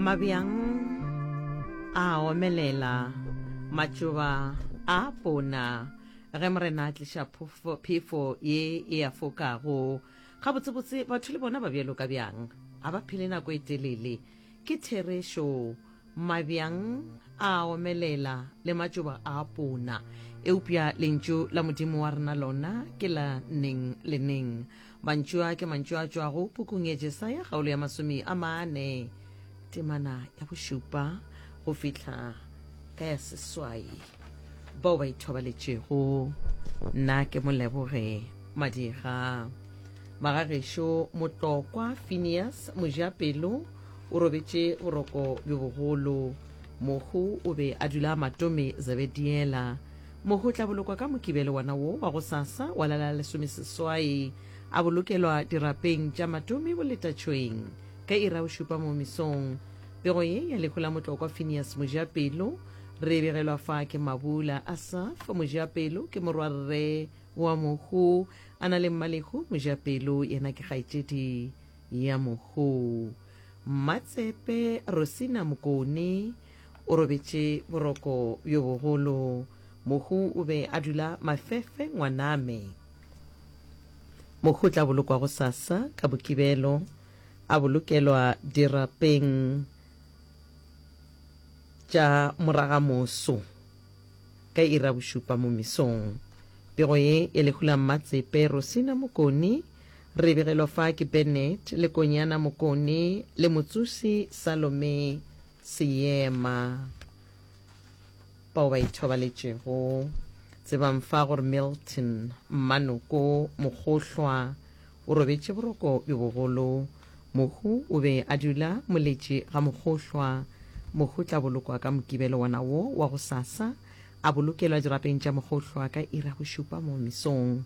Mabjang a omelela, matšoba a pona, ge Morena a tliša phefo ye e a fokago. Gabotsebotse batho le bona ba bjalo ka bjang, ga ba phele nako e telele. Ke therešo, mabjang a omelela le matšoba a pona, eupša lentšu la Modimo wa rena lona ke la neng le neng. Mantšu a ke mantšu a tšwago pukung ya Jesaya kgaolo ya 40 temana ya bošupa go fihla ka ya seswai. Bao ba ithobaletšego, nna ke moleboge Madiga. Magagešo Motlokwa Phineas Mojapelo o robetše boroko bjo bogolo. Mohu o be a dula Matome Zebediela. Mohu o tla bolokwa ka Mokibelo wona wo wa gosasa wa la la lesomeseswai, a bolokelwa dirapeng tša Matome Boletatšhweng ka iri ya bošupa mo mesong. Pego ye ya lehu la Motlokwa Phineas Mojapelo re e begelwa fa ke Mabula Asaph Mojapelo ke morwarre wa mohu a na le Mmalehu Mojapelo yena ke kgaetšedi ya mohu. Mmatsepe Rosina Mokone O robetše boroko bjo bogolo. Mohu o be a dula Mafefe ngwaname. Mohu o tla bolokwa gosasa ka Mokibelo, a bolokelwa dirapeng tša Moragamoso ka iri ya bošupa mo mesong. Pego ye ya lehu la Mmatsepe Rosina Mokone re e begelwa fa ke Bennett Lekonyana Mokone le Motsosi Salome Seema. Bao ba ithobaletšego, tsebang fa gore Milton Mmanoko Mogohlwa o robetše boroko bjo bogolo. Mohu o be a dula Moletši ga Mogohlwa. Mohu o tla bolokwa ka Mokibelo wona wo wa gosasa, a bolokelwa dirapeng tša Mogohlwa ka iri ya bošupa mo mesong.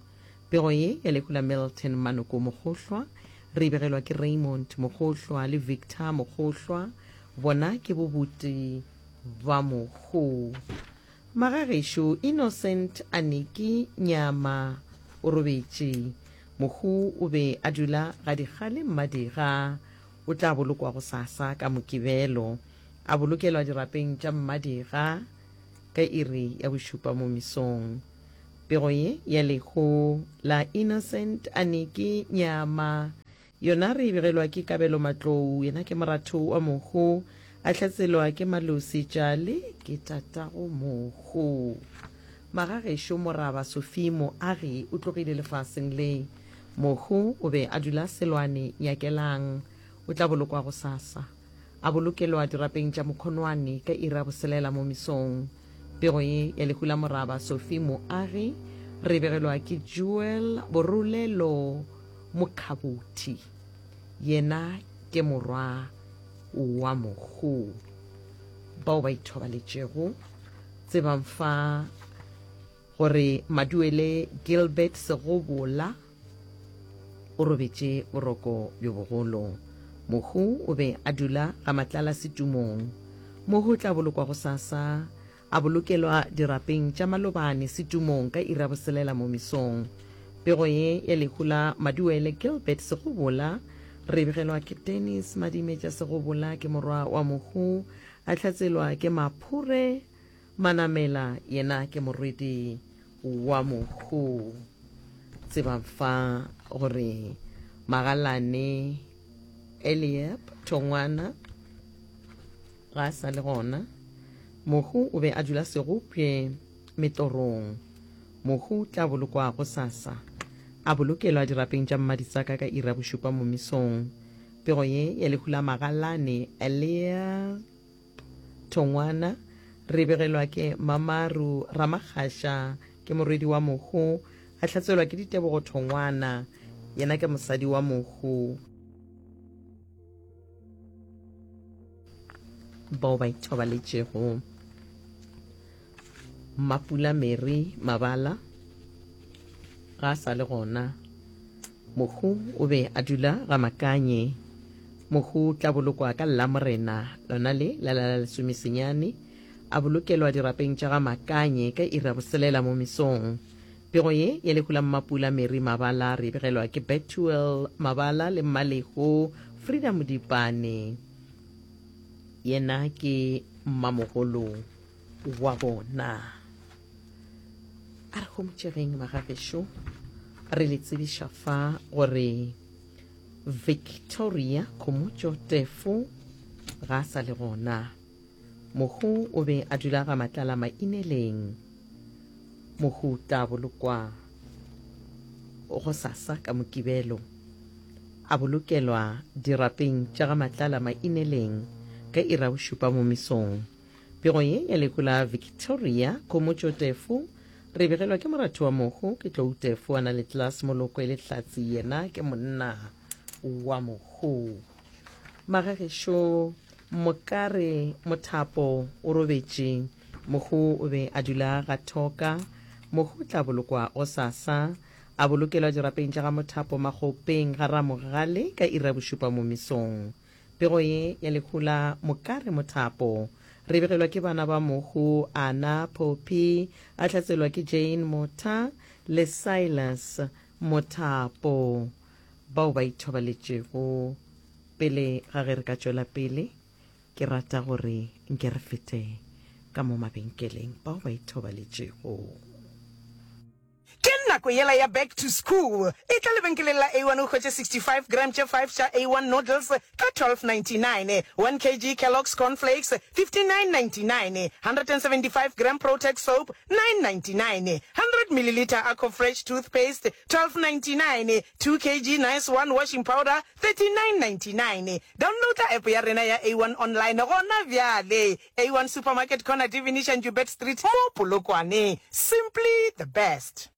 Pego ye ya lehu la Milton Manoko Mogohlwa re e begelwa ke Raymond Mogohlwa le Victor Mogohlwa, bona ke bobuti ba mohu. Magagešo Innocent Aniki Nyama o robetše. Mohu o be a dula ga Dikgale Mmadiga. O tla bolokwa gosasa ka Mokibelo, a bolokelwa dirapeng tša Mmadiga ka iri ya bošupa mo mesong. Pego ye ya lehu la Innocent Aniki Nyama yona re e begelwa ke Kabelo Matlou, yena ke moratho wa mohu, a hlatselwa ke Malosi Tjale, ke tatago mohu. Magagešo Moraba Sophie Moagi o tlogile lefaseng le. Mohu o be a dula Selwane Nyakelang. O tla bolokwa gosasa. A bolokelwa dirapeng tša Mokhonwane ka iri ya boselela mo mesong. Pego ye ya lehu la Moraba Sophie Moagi re e begelwa ke Joel Borulelo Mokhabothi. Yena ke morwa wa mohu. Bao ba ithobaletšego tsebang fa gore Maduele Gilbert Segobola o robetše boroko bjo bogolo. Mohu o be a dula ga Matlala Setumong. Mohu o tla bolokwa gosasa, a bolokelwa dirapeng tša Malobane Setumong ka iri ya boselela mo mesong. Pego ye ya lehu la Maduele Gilbert Segobola re e begelwa ke Dennis Madimetša Segobola ke morwa wa mohu, a hlatselwa ke Maphure Manamela yena ke morwedi wa mohu. Tsebang fa gore Magalane Eliab Thongwana ga a sa le gona. Mohu o be a dula Segopje Metorong. Mohu tla bolokwa gosasa, a bolokelwa dirapeng tša Mmaditsaka ka iri ya bošupa mo mesong. Pego ye ya lehu la Magalane Eliab Thongwana, re begelwa ke Mamaru Ramakgasha, ke morwedi wa mohu, a hlatselwa ke Ditebogo Thongwana, yena ke mosadi wa mohu. Bao ba ithobaletšego Mapula Mary Mabala ga a sa le gona. Mohu o be a dula ga Makanye. Mohu o tla bolokwa ka Lamorena lona le la la lesomesenyane, a bolokelwa dirapeng tša ga Makanye ka iri ya boselela mo mesong. Pego ye ya lehu la Mmapula Mary Mabala re e begelwa ke Bethuel Mabala le Mmalehu Frida Modipane. Yena ke mmamogolo wa bona. A re homotšegeng magagešo, re le tsebiša fa gore Victoria Khomotšo Tefo ga a sa le gona. Mohu o be a dula ga Matlala Maineleng. Mohu o tla bolokwa gosasa ka Mokibelo. A bolokelwa dirapeng tša ga Matlala Maineleng ka iri ya bošupa mo mesong. Pego ye ya lehu la Victoria Khomotšo Tefo re e begelwa ke moratho wa mohu ke Tlou Tefo a na le Klaas Moloko e le hlatse yena ke monna wa mohu. Magagešo Mokare Mothapo o robetše, mohu o be a dula ga Thoka. Mohu o tla bolokwa gosasa, a bolokelwa dirapeng tša ga Mothapo Makgopeng ga Ramogale ka iri ya bošupa mo mesong. Pego ye ya lehu la Mokare Mothapo re begelwa ke bana ba mohu Ana Poppy, a hlatselwa ke Jane Motha le Silas Mothapo bao ba ithobaletšego. Pele ga ge re ka tšwela pele, ke rata gore nke re fete ka mo mabenkeleng bao ba ithobaletšego. Ke nako yela ya back to school. Etla lebenkeleng la A1 o hwetše 65 gram tše 5 tša A1 noodles ka 12.99, 1 kg Kellogg's Corn Flakes 59.99, 175 gram Protex soap 9.99, 100 milliliter Aquafresh toothpaste 12.99, 2 kg Nice One washing powder 39.99. Downloada app ya rena ya A1 online gona bjale. A1 Supermarket Corner Divinisha Njubert Street mo Polokwane. Simply the best.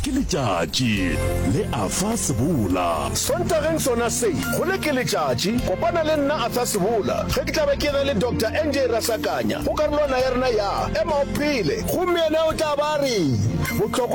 Ke letšatši le Arthur Sebola. Sontageng sona se, go le ke letšatši, kopana le nna Arthur Sebola ge ke tla be ke ena le Doctor NJ Rasakanya go karolwana ya rena ya Ema o Phele gomme yena o tla ba a re, Bohlokwa.